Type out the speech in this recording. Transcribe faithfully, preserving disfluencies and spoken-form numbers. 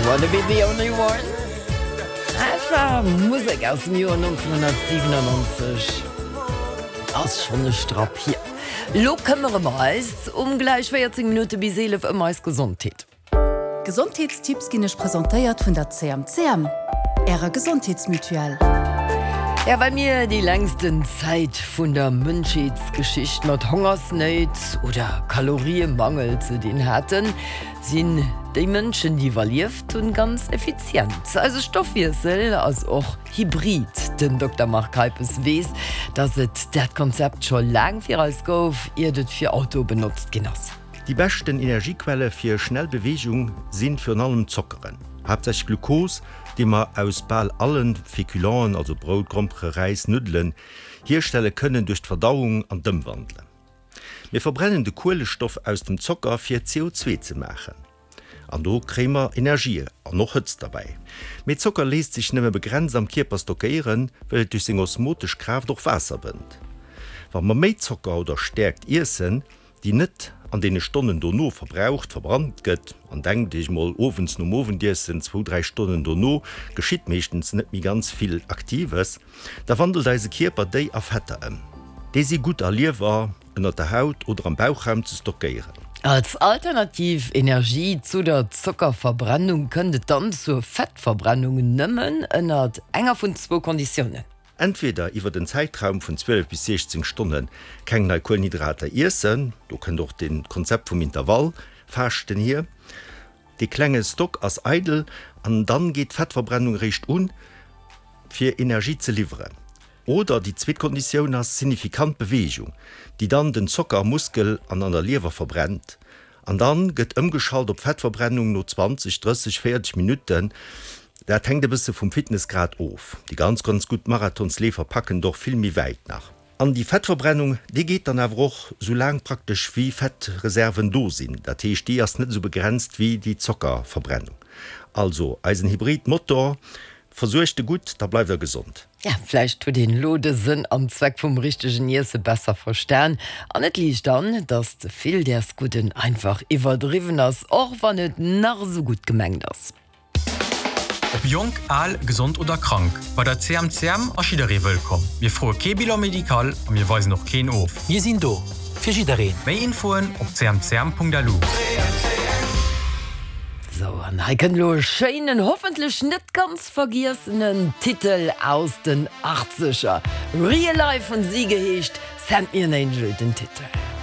Wanna be the only one? Dat war Musek aus dem Joer nonzénhunnertsiwenannonzeg. Ass schonn e Strapp hier. Lo këmmere mer eis um gläich véierzéng Minutte bis eelef ëm eis Gesondheet. D'Gesondheetstipps ginn iech presentéiert vun der C M C M, ärer Gesondheetsmutuelle. Ja, well mir déi längsten Zäit vun der Mënschheetsgeschicht mat Hongersnéit oder Kaloriemangel ze dinn haten, sinn déi Mënschen, déi iwwerlieft hunn, ganz effizient. Eise Stoffwiessel ass och hybrid. Den Dokter Marc Keipes weess, dass et dat Konzept scho laang fir eis gouf, iert et fir Autoe benotzt ginn ass. Déi beschten Energiequelle fir schnell Beweegung si virun allem Zockeren, haaptsächlech Glukos, déi mer aus bal alle Féculenten, also Brout, Grompere, Räis, Nuddelen, hierstelle kënnen duerch d'Verdauung an d'Ëmwandelen. Mir verbrennen de Kuelestoff aus dem Zocker fir C O zwee ze maachen. An do kréie mer Energie an och Hëtzt derbäi. Mee Zocker léisst sech nëmme begrenzt am Kierper stockéieren, well et duerch seng osmotesch Kraaft och Waasser bënnt. Wa mer méi Zocker oder Stäerkt iessen, déi net an deene Stonnen dono verbraucht, verbrannt gëtt, an denkt Iech mol, owends nom Owendiessen, zwou, dräi Stonnen dono geschitt meeschtens net méi ganz vill Aktives, da wandelt eise Kierper déi a Fetter ëm. Déi si gutt a Liewer, ënnert der Haut oder am Bauchraum ze stockéieren. Als alternativ Energie zu der Zockerverbrennung kënnt et dann zur Fettverbrennung nëmmen ënnert enger vun zwou Konditiounen. Entweder iwwert en Zäitraum vun zwielef bis siechzéng Stonne keng nei Kuelenhydrater iessen, do kënnt och de Konzept vum Intervallfaaschten hier, dee klenge Stock ass eidel an dann geet d'Fettverbrennung eréischt un, fir Energie ze liwweren. Oder déi zweet Konditioun ass signifikant Beweegung, déi dann den Zocker am Muskel an an der Liewer verbrennt. An dann gëtt ëmgeschalt op Fettverbrennung no zwanzeg, drësseg, véierzeg Minutten. Dat hänkt e bësse vum Fitnessgrad of. Déi ganz, ganz gutt Marathonsleefer packen et och vill méi wäit nach. An déi Fettverbrennung, déi geet dann awer och sou laang praktesch wéi Fettreserven do sinn. Dat heescht, déi ass net esou begrenzt wéi déi Zockerverbrennung. Also eisen Hybridmotor, versuergt e gutt, da bleift der gesond. Ja, vläicht huet een elo de Sënn an Zweck vum richtegen Iesse besser verstan. An et liicht an, dass ze vill däers Gudden einfach iwwerdriwwen ass, och wann et nach esou gutt gemengt ass. Ob jonk, al, gesond oder krank, bei der C M C M ass jidderee wëllkomm. Mir froe kee Bilan médical a mir weisen och keen of. Mir sinn do fir jiddereen. Méi Infoen op c m c m punkt l u. Sou, an hei kënnt elo e schéinen, hoffentlech net ganz vergiessenen Titel aus den Achtzeger. Real Life hunn si geheescht, Send Me an Angel den Titel.